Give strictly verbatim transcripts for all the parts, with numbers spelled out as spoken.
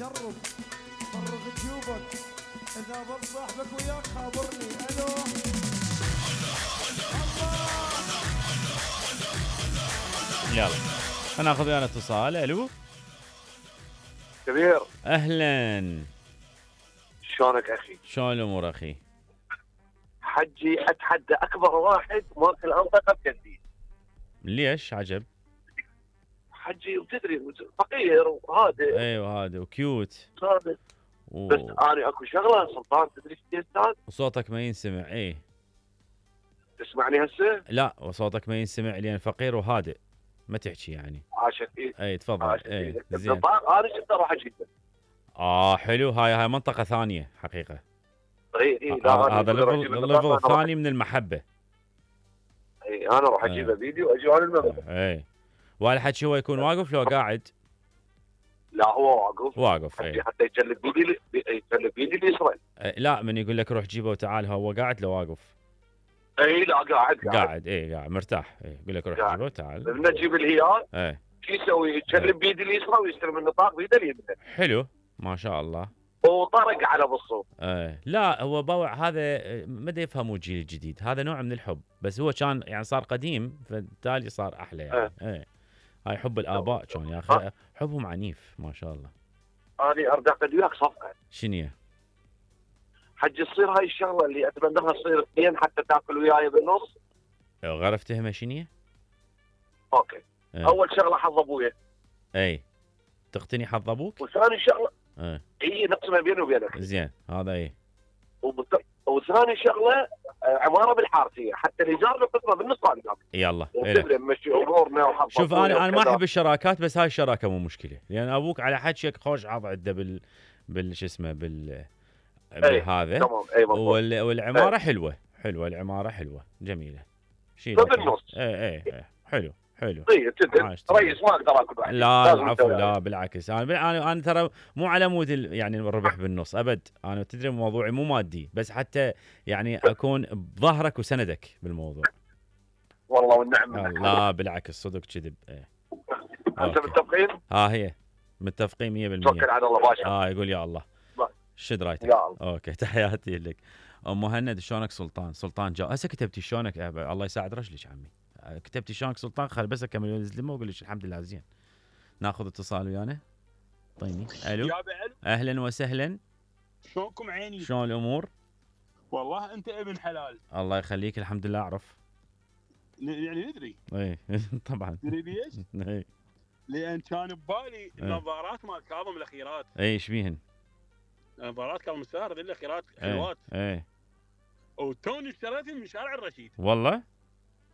جرب فرغ جيوبك، اذا ضل صاحبك وياك خابرني. الو يلا انا اخذ ويانا اتصال. الو كبير، اهلا، شلونك اخي؟ شلون الامور اخي؟ حجي اتحدى اكبر واحد ماكل انطقه بكندي. ليش عجب؟ حجي وتدري فقير وهادئ. ايوه هذا وكيوت هادئ و... بس انا اكو شغله سلطان، تدري ايش يا استاذ؟ وصوتك ما ينسمع. ايه تسمعني هسه؟ لا وصوتك ما ينسمع لان فقير وهادئ، ما تحكي يعني. عاشت ايدك. اي تفضل. عاشت اي ايدك. زين. النطاق انا شفته راح اجيبه. اه حلو، هاي هاي منطقة ثانية حقيقة. اي اي لا آه هذا أنا راح أجيب ليفل النطاق، ليفل أنا راح- ثاني من المحبة. اي انا راح اجيبه فيديو واجي على المغرب. اي والحكي هو يكون واقف لو قاعد؟ لا هو واقف. واقف. حتى اي حتى يجلب بيدي يجلب بيدي اليسرى. لا من يقول لك روح جيبه وتعال، هو قاعد لو واقف؟ اي لا قاعد قاعد, قاعد. اي قاعد مرتاح. اي يقول لك روح قاعد. جيبه وتعال. لما نجيب الهيال اي شو يسوي؟ يجلب بيدي اليسرى ويستلم النطاق بيده اليمنى. حلو ما شاء الله. وطرق على بالصوت. ايه لا هو بوع هذا ما دا يفهموا الجيل الجديد، هذا نوع من الحب، بس هو كان يعني صار قديم فبالتالي صار احلى يعني. ايه, ايه. هاي حب الاباء كان يا اخي، حبهم عنيف ما شاء الله. انا اريد اعقد وياك صفقه. شنو؟ حج تصير هاي الشغله اللي اتمناها تصير اثنين حتى تاكل وياي بالنص. غرفتها شنو؟ اوكي. ايه. اول شغله حظ ابويا. اي تقتني حظ ابوك؟ وثاني شغله ايه اي نقسمها بيني وبينك. زين هذا ايه. وبت... وثاني شغله عماره بالحارثيه حتى الايجار نقسمه بالنص انا. يلا تدري نمشي امورنا وحظ. شوف انا انا ما احب الشراكات، بس هاي الشراكه مو مشكله لان يعني ابوك على حكيك خوش عض عنده بال بال شو اسمه بال بهذا. تمام. اي وال... والعماره أي. حلوه حلوه العماره حلوه جميله. شيء بالنص. اي اي اي حلو حلو. طيب ريس ما اقدر اكل واحد. لا العفو لا بالعكس، انا انا انا ترى مو على مود يعني الربح بالنص ابد، انا تدري موضوعي مو مادي، بس حتى يعني اكون بظهرك وسندك بالموضوع. والله والنعم. لا بالعكس صدق كذب. ايه انت متفقين؟ ها هي متفقين مية بالمية. توكل على الله باشا. اه يقول يا الله. شد رايتك. يا الله. اوكي تحياتي لك. ام مهند شلونك سلطان؟ سلطان جا هسه كتبتي شلونك؟ الله يساعد رجلك عمي. كتبتي شلونك سلطان؟ خل بس اكمل الزلمه واقول لك الحمد لله زين. ناخذ اتصال ويانا. طيني. الو اهلا وسهلا. شلونكم عيني؟ شلون الامور؟ والله انت ابن حلال. الله يخليك الحمد لله اعرف. يعني ندري. اي طبعا. تدري ليش؟ اي لان كان ببالي النظارات مال كاظم الاخيرات. اي ايش بيهن؟ نظارات كاظم الساهر ذي الاخيرات حلوات. اي وتوني اشتريتهم من شارع الرشيد. والله؟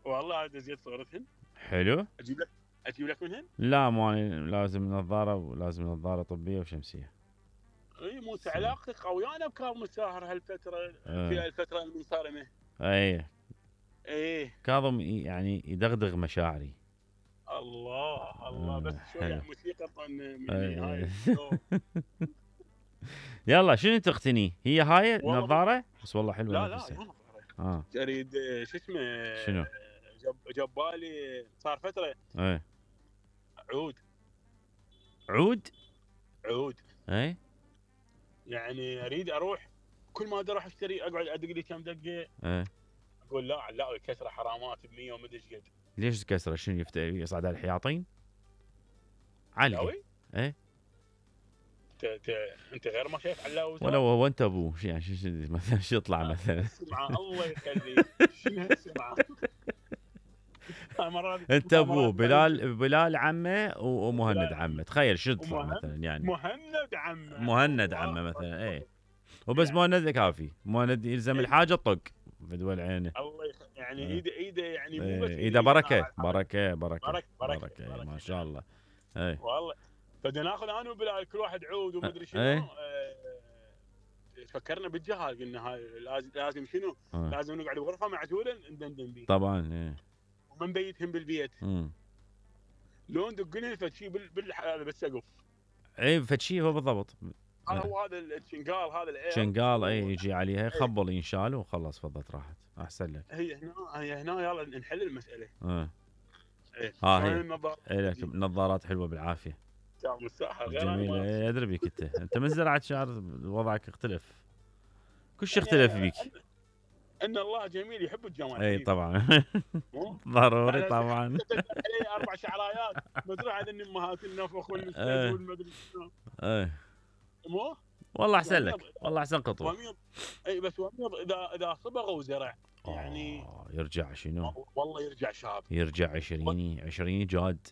والله هذا زيت صورتهن. حلو. اجيب لك اجيب لك منهن؟ لا مو لازم نظاره، ولازم نظاره طبيه وشمسيه. اي مو علاقتك قويانه بكاظم الساهر هالفتره. أه. في الفتره المنصرمه. اي ايه كاظم يعني يدغدغ مشاعري. الله الله. بس شويه موسيقى من هاي. يلا شنو تقتني؟ هي هاي نظاره بس والله حلوه. لا لا مو اه اريد شو اسمه. شنو؟ جب جبالي صار فتره. ايه عود. عود؟ عود. ايه يعني اريد اروح كل ما اروح اشتري اقعد ادق لي كم دقه. ايه اقول لا لا الكسره حرامات ب مية ومدري ايش قد. ليش كسره؟ شنو يصعد على الحياطين؟ علقه. ايه انت انت غير ما شايف علاوي. ولو هو انت ابوه يعني شو مثلا شو يطلع مثلا؟ اسمع الله يخليك. شنو اسمع. انت ابوه بلال بلال عمه ومهند عمه، تخيل شو يطلع مثلا يعني. مهند عمه مهند عمه مثلا. اي وبس مهند كافي، مهند يلزم الحاجه طق بدول عينه. الله يخ... يعني ايده ايده يعني مو بس ايده بركه بركه بركه بركه بركه, بركة, بركة ما شاء الله. اي والله بدنا ناخذ انا وبلال كل واحد عود ومدري شنو. اه فكرنا بالجهاز قلنا هاي لازم لازم شنو؟ أه. لازم نقعد بغرفه معزوله ندندن بيه. طبعا ايه. وما نبيتهم بالبيت. امم لو ندق لهم فد شيء بال هذا بالسقف. اي فد شيء هو بالضبط. هو هذا الشنقال هذا الاير. شنقال اي يجي عليها خبل ينشال وخلص فضت راحت احسن لك. هي هنا هي هنا يلا نحل المساله. اه ايه ها هي. ايه لك نظارات حلوه بالعافيه. شعر مستاهل غير انا جميل ما إيه، ادري بيك انت انت من زرعه شعر وضعك اختلف كل شيء يعني اختلف بيك. ان, إن الله جميل يحب الجمال اي حبيبي. طبعا مو؟ ضروري لا، لا، طبعا. تقدر علي اربع شعرايات مزروع هذا امهات النفخ والنسج إيه. والمدري شنو. ايه مو؟ والله احسن وميض لك والله احسن خطوه. وميض اي بس وميض اذا اذا صبغ وزرع يعني آه، يرجع شنو؟ والله يرجع شاب. يرجع عشريني عشريني جاد.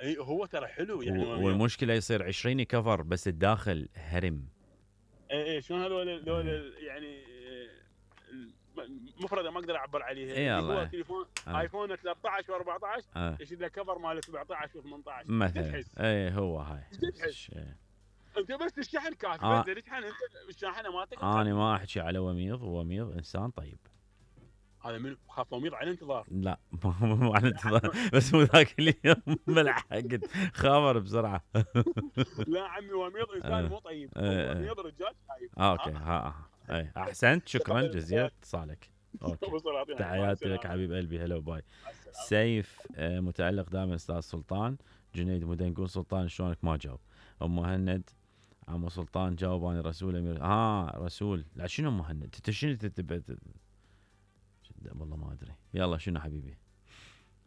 اي هو ترى حلو يعني و- وميض. والمشكله يصير عشريني كفر بس الداخل هرم. اي اي شلون هذول هذول إيه. يعني مفردة ما اقدر اعبر عليها. إي اللي والله. هو تليفون آه. ايفون ثلاثة عشر واربعة عشر آه. يشيل له كفر مال سبعة عشر وثمانية عشر مثلا تحس اي هو هاي تحس. إيه. انت بس الشحن كافي آه. بس اذا تشحن انت الشاحنه مالتك انا ما احكي على وميض وميض انسان طيب. هذا من خاف وميض على انتظار. لا مو على انتظار بس مو ذاك اليوم ملحقت خابر بسرعه. لا عمي وميض انسان آه. مو طيب. آه. وميض رجال طيب. آه اوكي ها آه. اي احسنت شكرا جزيلا اتصالك. اوكي تحياتي لك حبيب قلبي هلا وباي. سيف آه، متألق دائما استاذ سلطان. جنيد مدنقون سلطان شلونك ما جاوب. ام مهند عمو سلطان جاوب انا رسول امير ها آه رسول لا شنو مهند انت شنو تتبع والله ما ادري. يلا شنو حبيبي